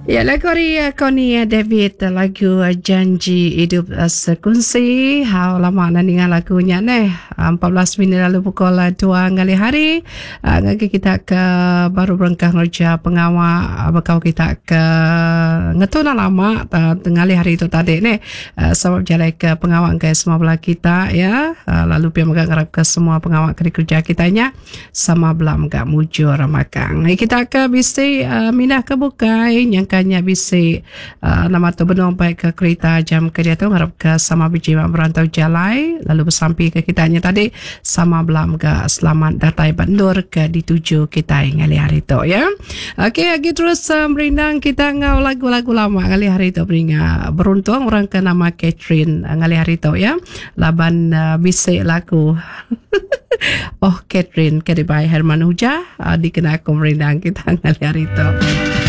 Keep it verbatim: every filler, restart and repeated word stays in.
Ya, lagu ari eh, Connie eh, David eh, lagu Janji Hidup Sekunsi. Hau lama na ninga lagu nya neh. empat belas minit lalu pukul dua ngalih hari. Ngagai kita ke baru berengkah ngereja pengawa bekau kita ke ngetu enda lama ngalih hari tu tadi neh. Sama bejalai ke pengawa enggai semua bala kita ya. Lalu pia mega ngarap ke semua pengawa ke dikereja kita nya sama bela mega mujur makang. Kita ke bisi mindah ke bukai nyangka nya bisi nama tu benung bai ke kerita jam ke diatu ngarap ke sama bejimat berantau jalai lalu besampi ke kita nya tadi sama bela mega selamat datai ba endur ke dituju kitai ngalih hari tu ya. Okey agi terus merindang kita enggau lagu-lagu lama ngalih hari tu beringa beruntung orang ke nama Catherine ngalih hari tu ya laban bisi lagu Oh Catherine ke dibai Herman Hujah dikena aku merindang kita ngalih hari tu.